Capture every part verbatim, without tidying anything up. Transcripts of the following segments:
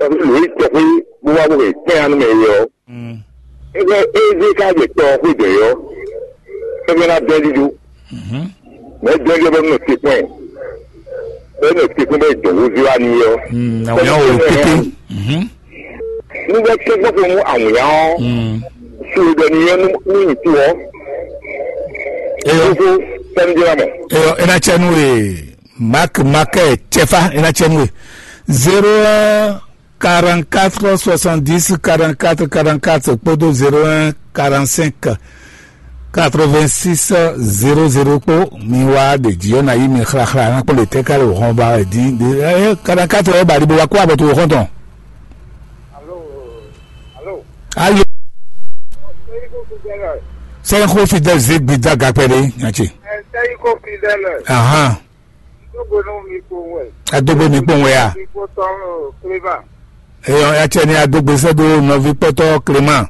Tɔ́ví lǒ yi tɔxwé bó wá bó hɛn kpɛ́n anu mɛ é ɔ́, é bɛ́ é zé ká jɛ tɔ ɔ́ xwé dɛ̌ ɔ́, é bɛ́ ná dɛ́ ɖíɖó. Mɛ̌ dɛ́ ɖíɖó bɛ́ nɔ te kpɛ́n, bɛ́ nɔ te kpɛ́n bɛ́ dɔn wúzú wá n'i ɔ́. Awǐnnya wǒ pépé. Nú bɛ́ tɛ́gbɔ́ xo nú awǐnnya ɔ́, suwe ɖɔ n'i ɔ́ nú nyi to ɔ́. Eyɔ, fúfú sɛ́nújɛ́lámɔ. Eyɔ, é ná cɛ nú we. Mak makɛ cɛfa é ná cɛ nú we. Zéro un quarante-quatre soixante-dix quarante-quatre quarante-quatre kpódó zéro un quarante-cinq quatre-vingt-six zéro zéro kpó. Mi wá ɖe jí ɔ́ ná yí mi xlaxla ná kpɔ́n ɖe tɛ́ ká ɖo hɔn ba wɛ dín. Quarante-quatre ɔ́ ba ɖi bó wá kó abɔ tó xɔ́ntɔn. Alo. Sɛnxó Fidel zé gbidza gakpɛ ɖé nyatsi. Ahan. Adógbe mi kpɔn wɛ a? Eyɔ, yatsɛ ni adógbe sɛ́ dó nɔví kpɔ́tɔ́ Clément.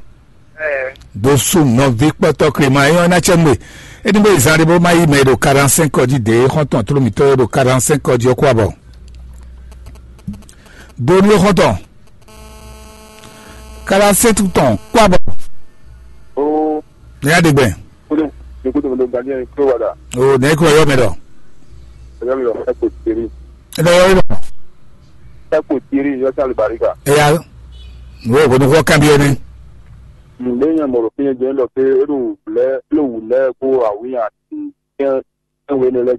Dó sú nɔví kpɔ́tɔ́ Clément. Eyɔ, ná tsɛ nú we. Éní bó zan ɖé bó má yí mɛ ɖo quarante-cinq ɔ́ jí dě xɔ́ntɔn tló mǐtɔn e ɖo quarante-cinq ɔ́ jí ɔ́ kó abɔ. Dó nú xɔ́ntɔn. Quarante-sept tɔn kó abɔ. Ní yá ɖe gbɛ. Kudu, kudu, kudu, Daniel, kúrò wá dà. O nɛ kúrò yɔ mɛ dɔ. Ẹ̀yọ́ mi lọ, ẹ kò tiri. Ẹ dɔ yɔ yɔ. Ẹ kò tiri, yọ sálì baríga. Ẹ yà. Wọ́n kò ní kó kábíyé ni. Ǹdé yẹn mọ̀rọ̀ fi yẹn jẹ́ lọ pé é ló wù lẹ́, é ló wù lẹ́ kó àwíyàn àti kẹ́ ẹ wé ni lẹ́.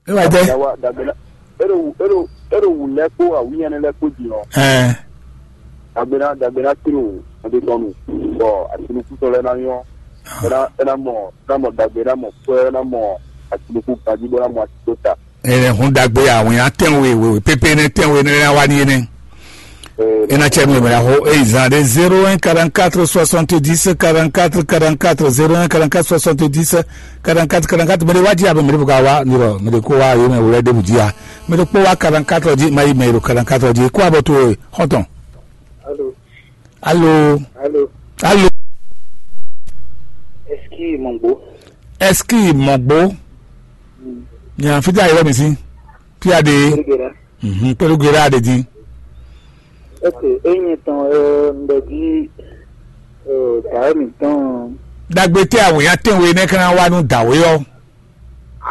E wa jɛ. Yawa dagbe na ero ero ero wu lɛ kpó awunyɛnɛ lɛ kpó di ɔ. Ɛɛ. Dagbe na dagbe na tiro ɔdetɔnu bɔ atinukutɔ lɛ na nyɔ. Ɛna ɛna mɔ ɛna mɔ dagbe ɛna mɔ kpɛ ɛna mɔ atinuku gaji bɔ ɛna mɔ atito ta. Ɛnɛ hun dagbe awunya tɛnwe wewe pepe ne tɛnwe ne na wa ni ene. Ena cɛ nu mɛ ho e zan de zéro un quarante-quatre soixante-dix quarante-quatre quarante-quatre zéro un quarante-quatre soixante-dix quarante-quatre quarante-quatre mɛ de wa ji abe mɛ de bu ka wa nirɔ mɛ de ko wa yo mɛ wulɛ de bu ji a mɛ de kpó wa quarante-quatre ji ma yi mɛ yi do quarante-quatre ji kó abɔ to xɔntɔn. Alo. Alo. Alo. Alo. Eski mɔgbo. Eski mɔgbo. Nya fita yɛrɛ mi si. Pia de. Olùgbéra. Mhm, pẹ̀lú gera de din. Ok, enyi tɔn ɛ ndɛji ɛ dawɛ mi tɔn. Dagbe tɛ awunya tɛnwe ne kana wa nu dawe ɔ.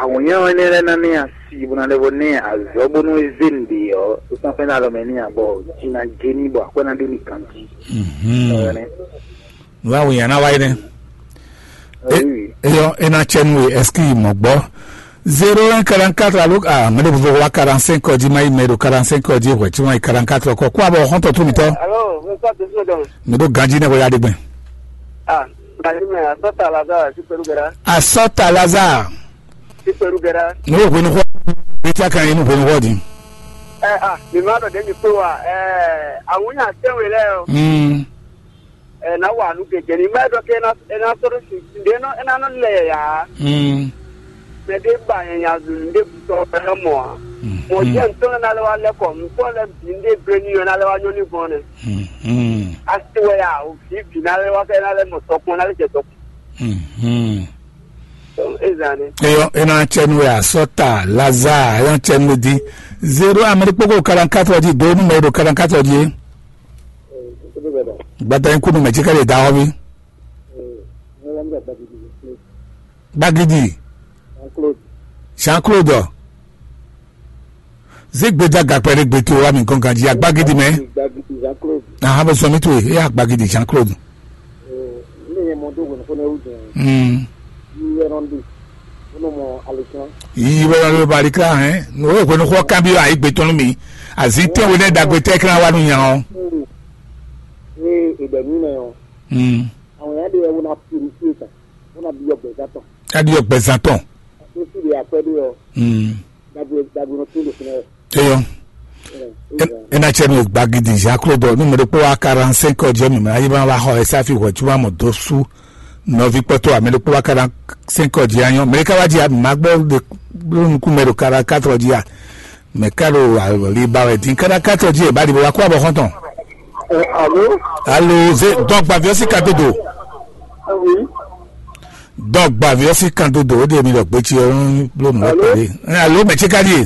Awunya wɛ ne lɛ na ne asi bona lɛ bɔ ne azɔ bonu eze nde ɔ, o san fɛn na lɔ mɛ ni abɔ jina geni bɔ akwɛ na do ni kanji. Mhm. Ɔ ne. Wa wɛ yana wa yi nɛ. Eyɔ ena cɛ nu we ɛski mɔ gbɔ. Zéro un quarante-quatre alo ah mɛ de bɔ wa quarante-cinq ɔdi ma yi mɛ do quarante-cinq ɔdi hwɛ tí wọn yi quarante-quatre kɔ kó abɔ xɔntɔ tó mi tɔ. Alo, mi sɔ tó sɔ dɔn. Mi do ganji ne ko ya de gbɛn. Ah, ganji mɛ asɔta lazare si pelu gɛra. Asɔta lazare. Si pelu gɛra. N'o hwenu xɔ. Bi tí a kan yi nu hwenu xɔ di. Ɛ ah, mi ma dɔ de mi kpó wa. Ɛ awunya tɛnwe lɛ o. Mm. Ɛ na wa nu gege ni mɛ dɔ ke na e na sɔrɔ si de nɔ e na nɔ lɛ ya. Mm. Mɛ de ba nya zu de bu tɔ e na mɔ a. Mm. Mɔ jɛ ntɔ na le wa lɛ kɔ ntɔ le bi de gbe ni na le wa nyɔ ni gbɔn ne. Mm. Asi wɛ ya o fi bi na le wa kɛ na le mɔ tɔkpɔn na le jɛ tɔkpɔn. Mm. Ezan ne. Eyɔ ena cɛ nu ya sɔta laza eyɔ cɛ nu di zero ameri kpoko quarante-quatre di do nu mɛ do quarante-quatre di. Gbata in kunu mɛ tsi ka ɖe da xɔ bi. Gbagidi. Jean Claude. Zé gbeda gakpɛ ɖe gbe to wa mi gɔn ganji agbagidi mɛ. Aha bɛ sɔmi to ye agbagidi Jean Claude. Yiyi bɛ lɔ ba alikla hɛn. O ye hwenu xɔ kan bi ayi gbe tɔnu mi. Azi tɛ wo ne dagbe tɛ kla wa nu nya o. Àwọn èèyàn lè wọ́n á purifié kan, wọ́n á bí ọgbẹ́ sátọ̀. Á bí ọgbẹ́ sátọ̀. Àti ó sì lè àpẹ́ bí ọ. Dàgbé dàgbé wọn tó lè fún ẹ. Eyɔ. Ena cɛ nu gbagidi Jean Claude nu mɛ ɖokpó wa quarante-cinq ɔdi mi mɛ ayi ma wa xɔ ɛsɛ afi hwɛ tuma mɔ do su nɔvi kpɔtɔ amɛ ɖokpó wa quarante-cinq ɔdi anyɔ mɛ ɖeka wa di ma gbɔ de lónukú mɛ ɖo quarante-quatre ɔdi a. Mɛ ká ɖo ali ba wɛ dín káɖá kátó jí ɛ bá ɖi bó wá kó abɔ xɔ́ntɔn. Alo. Alo ze dɔgba viɔ si ka dodo. Awi. Dɔgba viɔ si ka dodo o de mi dɔ gbetsi ɔ ń bló nù lọ pɛlɛ. Alo mɛ tsi ka ɖi e.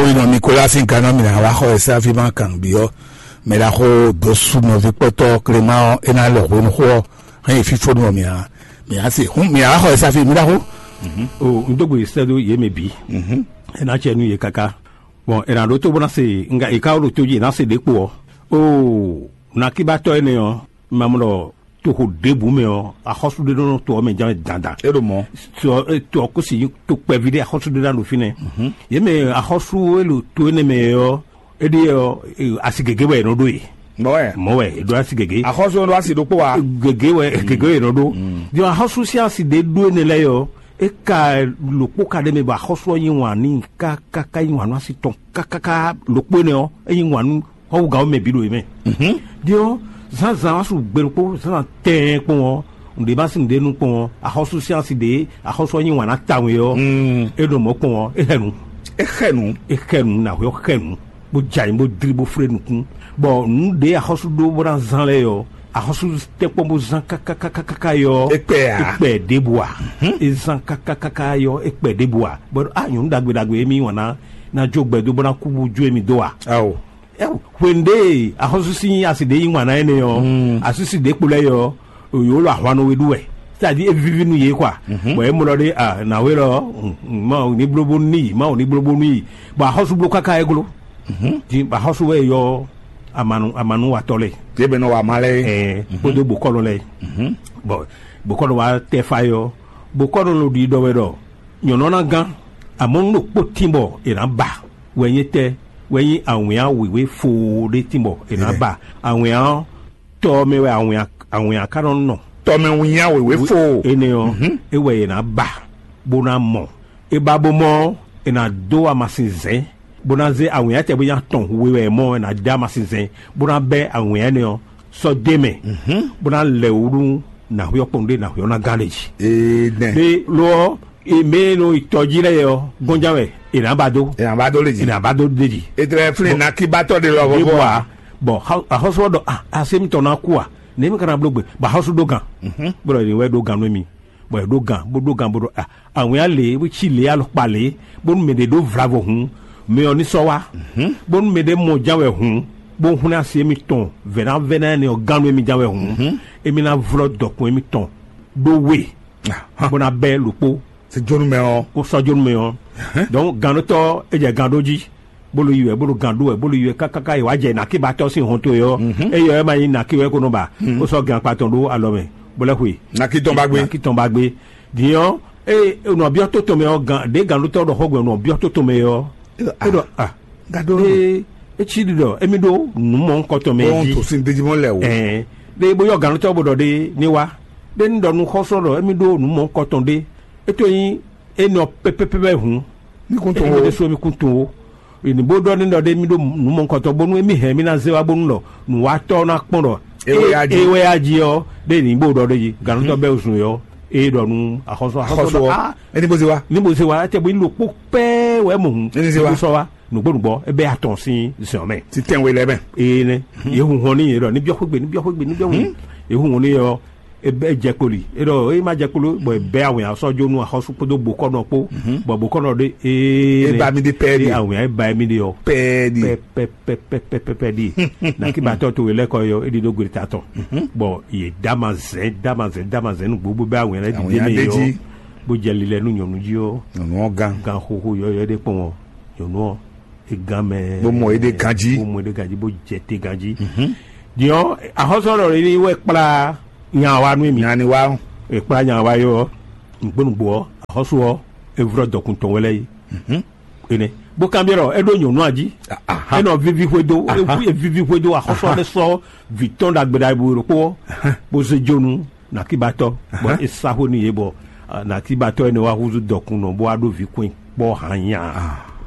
Mawuinɔ Nicolas sín gannɔ mǐ ná wá xɔ ɛ sín afí ma kan nǔbyɔ́. Mɛ ɖaxó Dosu nɔví kpɔ́tɔ́ Clément ɔ́, é ná lɛ hwenu xó ɔ́, hɛn yi fífó nú mǐ ǎ. Mǐ á se hún mǐ á wá xɔ ɛ sín afí mǐ ɖaxó. O un dó gbe sɛ́ dó yě mɛ bǐ. É ná cɛ nú yě káká. Bɔn è nǎ ɖótó bó ná se nga è ká ɖo tó jí è nǎ se ɖě kpo ɔ́. Oo, nakíbatɔ́ énɛ́ ɔ́, mamlɔ toxo ɖěbǔ mɛ ɔ́, axɔ́sú ɖé nɔ to ɔ́ mɛ ján dandan. É ɖo mɔ̌. To ɔ́ kó si to kpɛví ɖé axɔ́sú ɖé ná ɖo fínɛ́. Yě mɛ axɔ́sú e ɖo to énɛ́ mɛ ɔ́, éɖée ɔ́, asi gěgé wɛ è nɔ ɖó e. Mɔ̌ wɛ. Mɔ̌ wɛ è ɖó asi gěgé. Axɔ́sú ɔ́ ɖó asi ɖokpó wa. Gěgé wɛ gěgé è nɔ ɖó. Din axɔ́sú sín asi ɖé ɖó énɛ́ lɛ́ɛ ɔ́, é ka ɖokpó ka ɖ'é mɛ bɔ axɔ́sú ɔ́ yí wǎn n'i kákáká, yí wǎn nú asi tɔn kákáká. Ɖokpó énɛ́ ɔ́, é yí wǎn nú xɔ́wúgǎn ɔ́ mɛ bǐ ɖo é mɛ. Din ɔ́, zǎnzǎn wá su gbe ɖokpó zǎnzǎn tɛɛn kpɔn ɔ́, nǔɖé ma sín nǔɖé nú kpɔn ɔ́, axɔ́sú sín asi ɖě axɔ́sú ɔ́ yí wǎn ná tawun é ɔ́, é ɖo mɔ̌ kpɔn ɔ́, é xɛ nǔ. É xɛ nǔ. É xɛ nǔ, nǎhwɛ ɔ́ xɛ nǔ, bó jɛ ayǐ bó dlí bó flé nukún, bɔ nǔ ɖě axɔ́sú ɖó bó ná zán lɛ́ɛ ɔ́, axɔ́sú tɛ́nkpɔ́n bó zán kákákákáká é ɔ́, É kpɛ ǎ. É kpɛ ɖěbǔ ǎ. É zán kákákáká é ɔ́, é kpɛ ɖěbǔ ǎ. Bɔ á nyɔ̌nu ɖagbe ɖagbe émí wǎn ná ná jó gbɛ dó bó ná kú bó jó émí dó ǎ. Ao. Hwenu ɖé axɔ́sú sín asi ɖé yí wǎn ná énɛ́ ɔ́, asísi ɖě kpo lɛ́ɛ ɔ́, yǒ lɔ ahwan nɔ we ɖú wɛ, c'est-à-dire é víví nú yě kwa. Bɔ é mlɔ ɖé, nǎwe lɔ, ma wò ní bló bónú n'i, ma wò ní bló bónú i, bɔ axɔ́sú bló káká é gló. Din bɔ axɔ́sú wɛ yɔ amanu amanúwatɔ́ lɛ́ɛ, Yě mɛ nɔ wa ma lɛ́ɛ. Ɛɛ kpódó bokɔ́nɔ lɛ́ɛ. Bɔ bokɔ́nɔ wa tɛ fa yɔ, bokɔ́nɔ lɔ ɖi ɖɔ wɛ ɖɔ nyɔ̌nu ɔ́ ná gán, amɔ̌ nú ɖokpó tín bɔ è nǎ ba, wɛ nyí tɛ́, wɛ nyí awǐnnya wěwé foo ɖé tín bɔ è nǎ ba. Awǐnnya ɔ́, tɔ ɔ́ mɛ wɛ awǐnnya awǐnnya ka nɔ nɔ. Tɔmɛ wínnyá wěwé fo. Énɛ́ ɔ́, é wɛ è nǎ ba, bó ná mɔ. É ba bó mɔ ɔ́, è nǎ dó amasin zɛ̌n, bó ná zé awǐnnya tɛ bó nya tɔn we wɛ mɔ è nǎ dó amasin zɛ̌n, bó ná bɛ́ awǐnnya énɛ́ ɔ́ sɔ́ dó mɛ, bó ná lɛ wǔ nú nǎhwɛ ɔ́ kpɔ́n ɖé nǎhwɛ ɔ́ ná gán ɖe jí. Ee nɛ. Ɖé lo ɔ́, mɛ e nɔ yi tɔ jí lɛ́ɛ ɔ́, gɔ́njá wɛ è nǎ ba dó. È nǎ ba dó lé jí. È nǎ ba dó ɖe jí. Ètò ẹ̀ flin nàkíbátɔ ɖé lɔ Ɖěbǔ vɔvɔ. A, bɔ xɔ- axɔ́sú ɔ́ ɖɔ, "Ah, asé mitɔn ná kú a? Nɛ̌ mi ka ná bló gbe?" Bɔ axɔ́sú ɖó gan. Bó ɖɔ, "È wɛ ɖó gan nú mi." Bɔ è ɖó gan, bó ɖó gan, bó ɖɔ, "Ah, awǐnnya lě, bó cí lě alɔkpa lě, bónú mɛ ɖě ɖó vlavo hǔn, mɛ ɔ́ ní sɔ́ wá. Bónú mɛ ɖě mɔ ján wɛ hǔn, bó hwlɛ́n asi émítɔn vɛ̌návɛ́ná énɛ́ ɔ́ gán nú émí ján wɛ hǔn, émí ná vlɔ́ dɔkun émítɔn ɖó we, bó ná bɛ́ ɖokpó." Sɛ jónú mɛ ɔ́. Kó sɔ́ jónú mɛ ɔ́. Donc gannútɔ́ é jɛ gan ɖó jí, bó ló yi wɛ, bó ló gan ɖó wɛ, bó ló yi wɛ kákáká yi wá jɛ nàkíbatɔ́ sín hɔn towe ɔ́. Eye ɔ́ é ma nyí nàkí wɛ é ko nɔ ba, bó sɔ́ gan kpa tɔn ɖó alɔ mɛ, bó lɛ́ xwe. Nàkí tɔn ba gbé. Nàkí tɔn ba gbé. Din ɔ́, eye nɔ byɔ́ tó tɔn mɛ ɔ́, gan ɖě gannútɔ́ ɖɔ xó gbɛ nɔ byɔ́ tó tɔn mɛ ɔ́, é ɖɔ a Gado. Ee, é cí ɖiɖɔ émí ɖó nǔ mɔ̌hunkɔtɔn mɛ Bɔn jí. To sin dejimɔ lɛ o. Ɛɛ, ɖe bó yɔ gannútɔ́ bó ɖɔ ɖe ní wá. Ɖe ní ɖɔ nú xɔ́sɔ́ ɖɔ émí ɖó nǔ mɔ̌hunkɔtɔn ɖé. É tó nyí é nɔ pɛpɛpɛ hǔn. Ní kun tó Émí o. Ɖésú émí kún tun ó. Ènì bó ɖɔ ní ɖɔ ɖe émí ɖó nǔ mɔ̌hunkɔtɔn bónú émí hɛn émí ná zé wá bónú ɖɔ nǔwatɔ́ ɔ́ ná kpɔ́n ɖɔ É wɛ yá jí. É wɛ yá jí ɔ́, ɖe ní bó ɖɔ ɖe jí. Gannútɔ́ bɛ́ zun yɔ. É ɖɔ nú axɔ́sɔ́ axɔ́sɔ́ Xɔsɔ ɖɔ ɔ. Ah, Ẹni bó se wá. Ní bó se wá, é tɛ bó ní ɖokpó pɛ́ wɛ mɔ hǔn. Ní ní se wá. Bó sɔ́ wá. Nǔgbó nǔgbó é bɛ́ atɔn sín zɛ̌n mɛ. Ti tɛnwe lɛ mɛ. Ene. Ye hun hɔn ní ye ɖɔ ní byɔ́ xwégbe ní byɔ́ xwégbe ní byɔ́ xwégbe. Ye hun hɔn ní yɔ é bɛ́ jɛ kpoli é ɖɔ é má jɛ kpolo bɔ é bɛ́ awìn asɔ́ jó nú axɔ́sú kpódó bokɔ́nɔ kpó. Bɔ bokɔ́nɔ ɖé é É ba mi ɖe pɛ́ ɖe. Awìn é ba mi ɖe ɔ. Pɛ́ ɖe. Pɛpɛpɛpɛpɛ ɖi. Nakibatɔ to we lɛkɔ yɔ é ɖi ɖó gbe ta tɔn. Bɔ ye dama zɛn dama zɛn dama zɛn nu gbogbo bɛ awìn lɛ Awìn ɖi ɖe ya mɛ ɖe yɔ. Jí. Bó jɛ lilɛ nú nyɔnu jí ɔ. Nyɔnu ɔ gan. Gan xoxo yɔyɔ ɖe kpɔn ɔ. Nyɔnu ɔ e gan mɛ. Bó mɔ é ɖe ganjí. Bó mɔ é ɖe ganjí bó jɛ te ganjí. Diɔ ahɔsɔlɔ ɖe ni wɛ kpla nyawa nú mi. Nyani wa. E kpla nyawa yɔ. Nǔgbó nǔgbó ɔ́, axɔ́sú ɔ́, é vlɔ́ dɔkun tɔn wɛ lɛ́ɛ é. Énɛ́. Bó kanbyɔ́ ɖɔ é ɖó nyɔ̌nu a jí? Ahá. É nɔ víví xwedó, é Ahá. Ví- é víví xwedó axɔ́sú ɔ́ lɛ́ sɔ́ vǐ tɔn ɖagbe ɖagbe ɖokpó ɔ́, bó zé jó nú nàkíbatɔ́, bɔ é sá xó n'i yě bɔ nàkíbatɔ́ énɛ́ wá húzú dɔkunnɔ bó wá ɖó vǐ kɔn kpɔ́ hǎnya.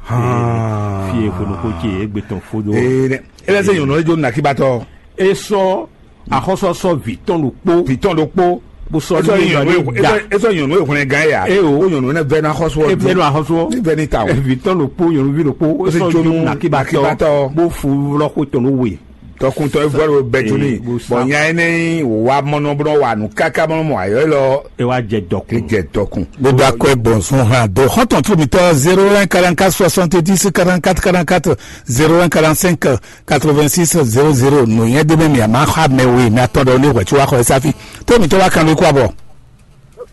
Fí e xwenu xó ce égbé tɔn fó dó. Ee, é lɛ́ sɛ nyɔ̌nu lɛ́ jó nàkíbatɔ́. É sɔ́ axɔ́sɔ́sɔ́ vǐ tɔn ɖokpó, vǐ tɔn ɖokpó. Bó sɔ́ é sɔ́ ní nyɔ̌nu nyɔ̌nu é- é da. Sɔ́- é sɔ́ nyɔ̌nu é hwlɛngán yà. É o. Ó nyɔ̌nu énɛ́ vɛ́ ná xɔ́sú ɔ́. É vɛ́ ná xɔ́sú ɔ́. Ní vɛ́ ní ta o. Vǐ tɔn ɖokpó nyɔ̌nuví ɖokpó. Ó sì sɔ́ jó nú nàkíbatɔ́. Nàkíbatɔ́. Bó fu vlɔ́ xó tɔn nú we. Tɔkuntɔ é vɔ́ ɖo bɛtuni. Ee, bó sá. Bɔn nya énɛ́ nyí wǎ mɔnɔ bó nɔ wa nǔ káká bó nɔ mɔ ayɔ élɔ́. É wá jɛ dɔkun. É jɛ dɔkun. Gbogbo akɔ gbɔn sun hã do xɔntɔn tó mitɔ zéro un quarante quatre soixante dix quarante quatre quarante quatre zéro un quarante cinq quatre vingt six zéro zéro nǔnyɛ ɖé mɛ mi a ma xa mɛ we mi atɔn ɖɔ ní hwɛ tso wa xɔ ɛ sáfi tó mitɔ wa kan lóko abɔ.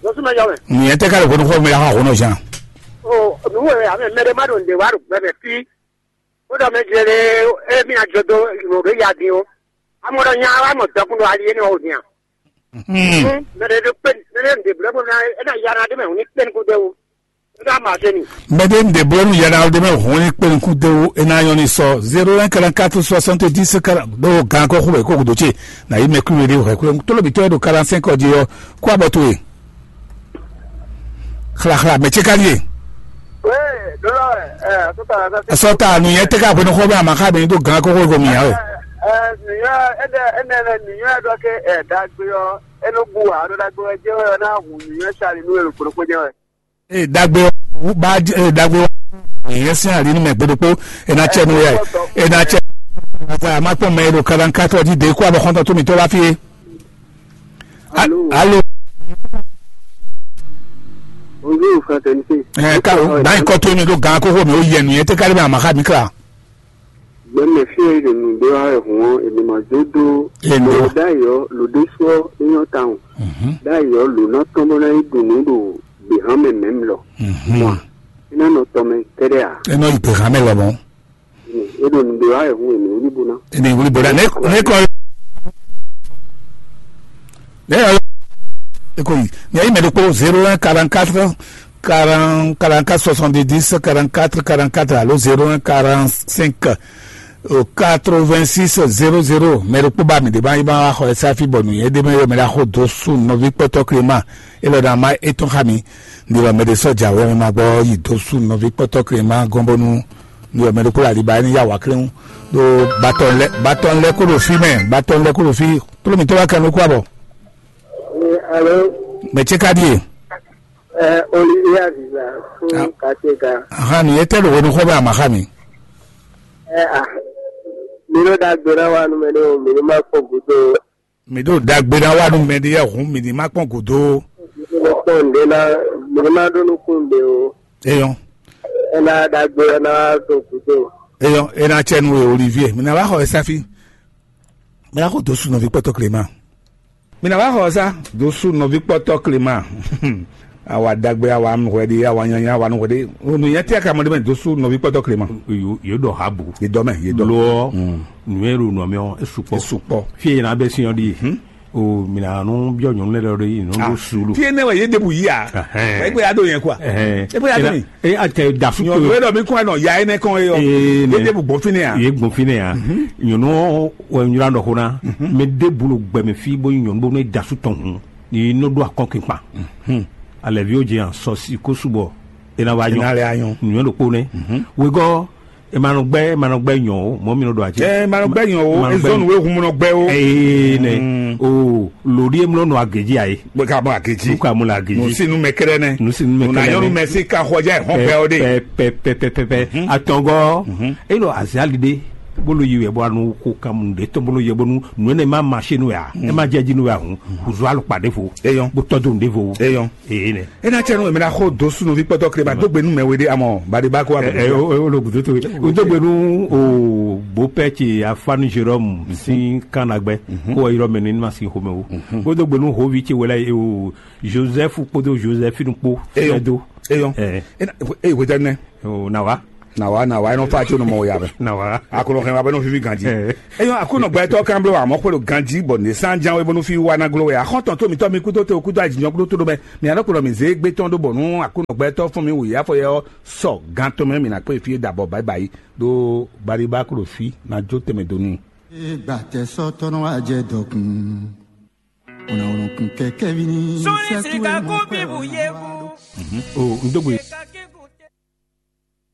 Lọ́sùn mɛ yɔ mɛ. Nǔnyɛ tɛ ka lè hwenu xɔ mi la xa hwenu zan. O, nǔwò ame mɛ ɖé má ɖo nǔɖé wá ɖo gbɛ mɛ fí. Ó ɖɔ mɛ jɛ lé émi ajɔ dó nǔ ɖé ya dín o. Amɔ ɖɔ nya wá mɔ dɔkun ɖo ali énɛ́ wá wò dín a? Mɛ ɖé ɖo kpé mɛ ɖé ɖe blɛ́ bó ná é ná ya ná ɖé mɛ hǔn ní kpé ní kúdé wú. É ná ma dé ni. Mɛ ɖé ɖe blɛ́ nú yɛɖa ɖé mɛ hɔn ní kpé ní kúdé wú é ná nyɔ́ ní sɔ zéro un quarante quatre soixante dix quarante ɖó gan kɔ́ xú wɛ kó gúdo ce nà yí mɛ kúrú ɖé hwɛ kúrú tólóbitɔ́ e ɖo quarante cinq ɔ́ jí ɔ́ kó abɔ towe. Xlaxla mɛ ce ka ɖíe. Wé, ɖó lɔ wɛ, ɛ, sɔta la sase. Sɔta nìyẹn tɛ ká hwenu xɔ bɛ àmà ká bẹ ní tó gan kókó kó mìíràn wɛ. Ɛ, nìyẹn ɛdɛ ɛnɛ lɛ nìyẹn dɔ ke ɛ dagbe ɔ, ɛnɛ bu wa ɖo dagbe wɛ jɛ wɛ ɔ na hu nìyẹn sali nu elu kplokplo jɛ wɛ. Ee dagbe ɔ ba ee dagbe ɔ nìyẹn sin ali nu mɛ gbeɖokpo ena tsɛ nu wɛ ena tsɛ. Ata a ma kpɔn mɛ e ɖo kalankatɔ di de kó abɔ xɔntɔn tó mi tó wá fi ye. Alo. Alo. Bonjour, fraternité. Ɛ ka o gban kɔ to mi ɖo gan kókó mi o yɛ nìyɛn tɛ kárí bɛ àmà xa mi kla. Gbɛmɛ fí e ɖo nǔ ɖé wá wɛ hǔn ɔ́, è nǐ ma dó ɖó Endo. Mɔ ɖ'ayǐ ɔ́, lǒ ɖésú ɔ́, é nyɔ́ tawun. Ɖ'ayǐ ɔ́, lǒ ná tɔ́n bó ná yi ɖu nǔ ɖo gběhan mɛ mɛ̌m lɔ. Mɔ é ná nɔ tɔn mɛ kɛ́ɖɛ́ ǎ. É nɔ yi gběhan mɛ lɔmɔ̌. É ɖo nǔ ɖé wá wɛ hǔn è nǐ wlí bó ná. È nǐ wlí bó ná. Né, né kɔ. Né, eko yi. Nyɛ yi mɛ ɖokpó zéro un quarante quatre quarante quarante quatre soixante dix quarante quatre quarante quatre alo zéro un quarante cinq quatre vingt six zéro zéro mɛ ɖokpó ba mi ɖe ba yi ba xɔ ɛ sáfi bɔ nǔ yɛ ɖe mɛ yɔ mɛ ɖa xo dó su nɔví kpɔtɔ Clément. Elɔ ɖe ama etɔn xa mi. Ni wɔ mɛ ɖe sɔ dza wɛ ma gbɔ yi dó su nɔví kpɔtɔ Clément gɔn bɔnu. Ni wɔ mɛ ɖokpó la ɖi ba ni ya wa klɛn ɖo batɔ lɛ batɔ lɛ kó ɖo fi mɛ batɔ lɛ kó ɖo fi. Kplo mi tɔ wa kan ló kó abɔ. Alo. Mɛ tse ka ɖie. Ɛ, Olivier Aziza fún Katega. Ahan, nìyẹn tẹ́ ló wẹnu xɔ bẹ́ẹ̀ àmàxá mi. Ɛ, a mi ló dàgbé náà wà nù mí ní o, mi ní má pọ̀ gúdó. Mi ɖo dagbe ná wá nú mɛ ɖé yɛ hǔn mi ní má kpɔn gǔdo. Mi ní má pọ̀ ǹdé ná, mi ní má ɖó nukún ǹdé o. Eyɔn. Ẹ ná dàgbé ná tó gúdó. Eyɔn, ena tsɛ nu e Olivier mi ná wá xɔ ɛ sáfi. Mi ná xɔ dó su nɔví kpɔtɔ Clément. Mi ná wá xɔ ɛ sá dó su nɔví kpɔtɔ Clément. Awa dagbe awa hwɛɖe awa nyanya awa nɔhwɛɖe. Nǔnyɛ tí a ka mɔ ɖé mɛ dó sú nɔví kpɔtɔ Clément. Yě ɖɔ ha bǔ. Yě dɔ mɛ yě dɔ. Lo ɔ nǔnyɛ ɖo nɔ mɛ ɔ e sukpɔ. E sukpɔ. Fí e yina bɛ sin ɔ ɖi. O mina nu biɔ nyɔnu lɛ ɖɔ ɖi nu ɖo sulu. Fí enɛ wɛ yé ɖebu yí a. Ɛgbɛ ya ɖo yẹn kua. Ɛgbɛ ya ɖo mi. E a tɛ da su. Nyɔnu wɛ ɖɔ mi kún ɛnɔ ya enɛ kɔn e yɔ. Yé ɖebu gbɔn fínɛ ya. Yé gbɔn fínɛ ya. Nyɔnu wɛ nyura ɖɔ ko na. Mɛ ɖebu lo gbɛmɛ fí bo nyɔnu bo ne da su tɔn hun. Ni nɔ ɖo akɔnkpinkpan. Alɛviwo jɛ yan sɔsi ko subɔ ena wa nyɔ. Ena lɛ anyɔ. Nyɔ ɖokpo nɛ. Wegɔ emanɔgbɛ emanɔgbɛ nyɔ o mɔ mi nɔ ɖo ati. Ɛ emanɔgbɛ nyɔ o ezɔnu we hun nɔ gbɛ o. Ee nɛ o lòdì emlɔ nɔ agedzi ayi. Bɛ ka mɔ agedzi. Ka mɔ agedzi. Nusinu mɛ kɛrɛ nɛ. Nusinu mɛ kɛrɛ nɛ. Nunayɔnu mɛ si ka xɔjá ɛhɔn pɛ o de. Pɛ pɛ pɛ pɛ pɛ atɔngɔ. Elo aziali de bolo yi wɛ bɔ anu ko kan mu de tɔn bolo yɛ bɔnu nu ne ma ma se nu ya e ma jɛ ji nu ya hun kuzu alu kpa de fo eyɔn bo tɔdu de fo eyɔn ee ne. E na cɛ nu emena xo do sunuvi kpɔtɔ kele ma do gbe nu mɛ we de amɔ bade ba ko wa. Ɛ ɛ o lo gudo to o do gbe nu o bo pɛ ce afanu jerome sin kan na gbɛ ko wa yɔrɔ mɛ ni ma sin xomɛ o o do gbe nu hovi ce wɛ la ye o joseph kpodo josephine kpo eyɔn do eyɔn ɛ ɛ wetɛ nɛ o na wa. Na wá, na wá, é nɔ fá tí ó nɔ mɔ wòyá mɛ. Na wá. Aklúnɔ hɛn wá bɛ nɔ fífí ganjí. Ɛ. Eyɔn Aklúnɔ gbɛtɔ́ kan bló wá mɔ xwé ɖo ganjí bɔ nǐ sán ján wé bó nɔ fí wá ná gló wɛ. Axɔ́ntɔn tó mǐtɔn mi kú tó te, kú tó ajínjɔ́n kú tó mɛ. Mǐ alɔ kplɔ mǐ zé gbé tɔn ɖó bɔ nú Aklúnɔ gbɛtɔ́ fún mi wòyá fɔ yɛ ɔ́ sɔ gan tɔn mɛ mǐ ná kpé fí é da bɔ báyìí báyìí. Ɖó baɖibá klo fí ná jó tɛnmɛ dó n'i. Gbàtẹ́ sɔ́tɔ́nú wá jẹ dɔkun. Unawunukun kɛkɛ vi ni. Sórí sika kó bíbù yé kú. O n dógbe.